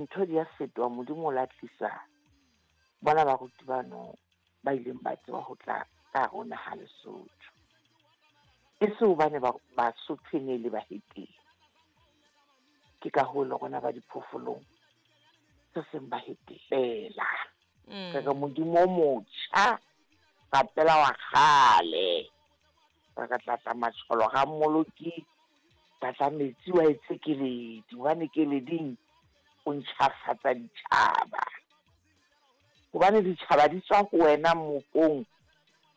Ntho di a fetoha, Modimo o la tlisa bona baruti bano ba ileng ba tseba ho tla ka hare ho naha Lesotho. E se hobane Basotho e ne le bahetene. Ke ka hoo le rona ba diphoofolong se seng bahetene feela. Re re Modimo o motjha rapela wa kgale. Re re tlatla matsholo ga Mmoloki, tlatla metsi wa etse keledi, hobane keleding o ntjhafatsa ditjhaba. Hobane ditjhaba di tswa ho wena mmopong,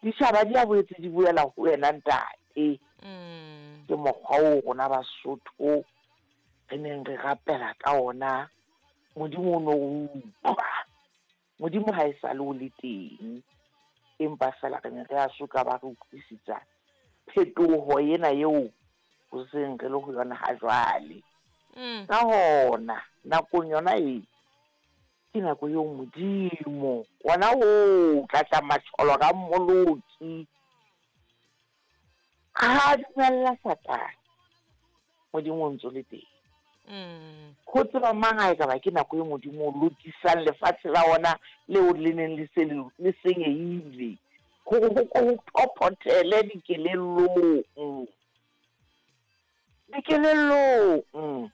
ditjhaba di a boetse di boela ho wena ntate. Ke mokgwa oo rona Basotho re neng re rapela ka ona. Modimo o no o utlwa. Modimo ha e sale o le teng, empa feela re ne re a soka ba re utlwisisa phetoho ena eo ho seng re le ho yona ha jwale. Ka hona, nakong yona e, ke nako eo Modimo ona o tlatla matsholo ka Mmoloki ha dumella Satane. Modimo o ntso le teng. Ho tseba mang ha e ka ba ke nako e Modimo o lokisang lefatshe la ona leo le neng le se le senyehile, hore ho ko ho phophothele dikelellong. Dikelellong.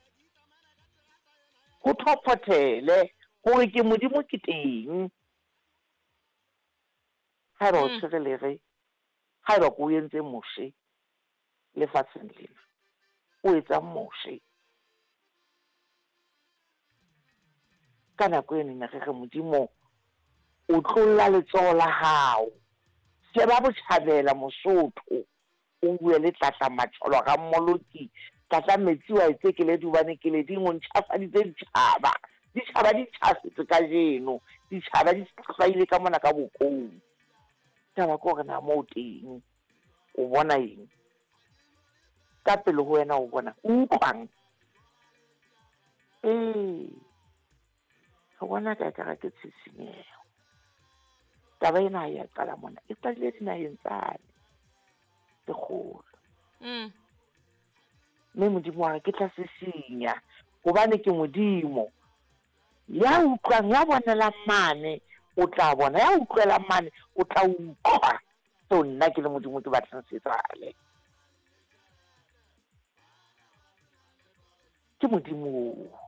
Ho phophothele hore ke Modimo ke teng. Haeba o tshwere lere, haeba ko o entse Moshe lefatsheng lena, o etsang Moshe? Ka nako eno ne re re Modimo o tlolla letsoho la hao, sheba botjhabela Mosotho, o bue le tlatla matsholo ga Mmoloki, tlatla metsi wa etse keledi hobane keleding o ntjhafaditse ditjhaba. Ditjhaba di ntjhafetse kajeno, ditjhaba di hlwaile ka mona ka bokong. Taba ke hore na moo teng o bona eng? Ka pele ho wena o bona o utlwang? Ee, re bona ka ekare ke tshisinyeho. Taba ena ha ya qala mona, e qadile dinaheng tsane tse kgolo. Mme Modimo wa re ke tla sisinya hobane ke Modimo. Ya utlwang, ya bonelang mane o tla bona, ya utlwelang mane o tla utlwa seo nna ke le Modimo ke batlang se etsahale. Ke Modimo oo.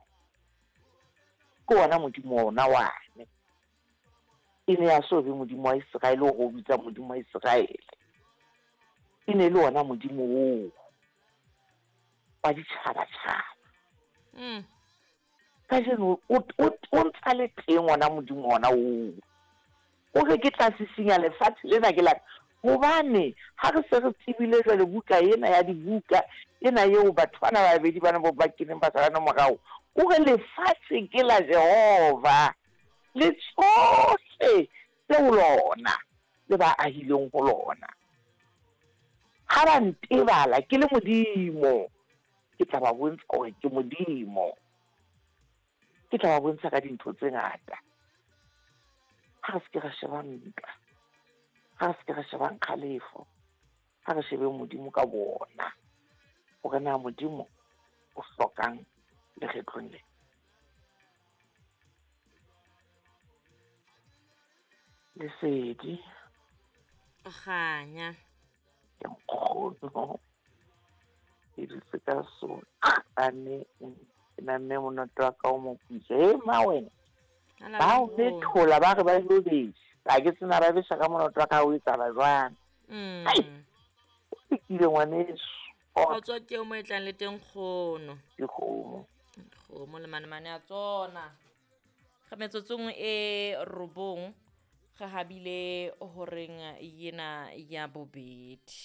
Ke ona Modimo ona wane. E ne ya so be Modimo wa Iseraele o re o bitsa Modimo wa Iseraele. E ne le ona Modimo oo wa ditjhabatjhaba. Kajeno o ntsa le teng ona Modimo ona oo. O re ke tla sisinya lefatshe lena ke la hobane ha re se re tsebile jwale buka ena ya dibuka ena eo batho bana ba babedi bana ba keneng ba salane morao, o re lefatshe ke la Jehova le tsohle tse ho lona le ba ahileng ho lona. Ha ba ntebala ke le Modimo, ke tla ba bontsha hore ke Modimo. Ke tla ba bontsha ka dintho tse ngata. Ha re se ke ra sheba ntwa, ha re se ke ra sheba kgalefo, ha re shebe Modimo ka bona, hore na Modimo o hlokang lekgetlong le. Lesedi. Kganya. Ke nkgono. Ke dutse ka soqane. Ke namme monoto wa ka o moputswa. E ma wena. Ba o methola ba re ba ilo besa. Ha ke tsena ba besa ka monoto wa ka o etsahala jwang. Ai. O fikile ngwaneso. Kgotso ke o mo e tlang le teng kgono. Dikgomo. Kgomo le manemane a tsona. Ga metsotsong e robong ga habile horeng yena ya bobedi.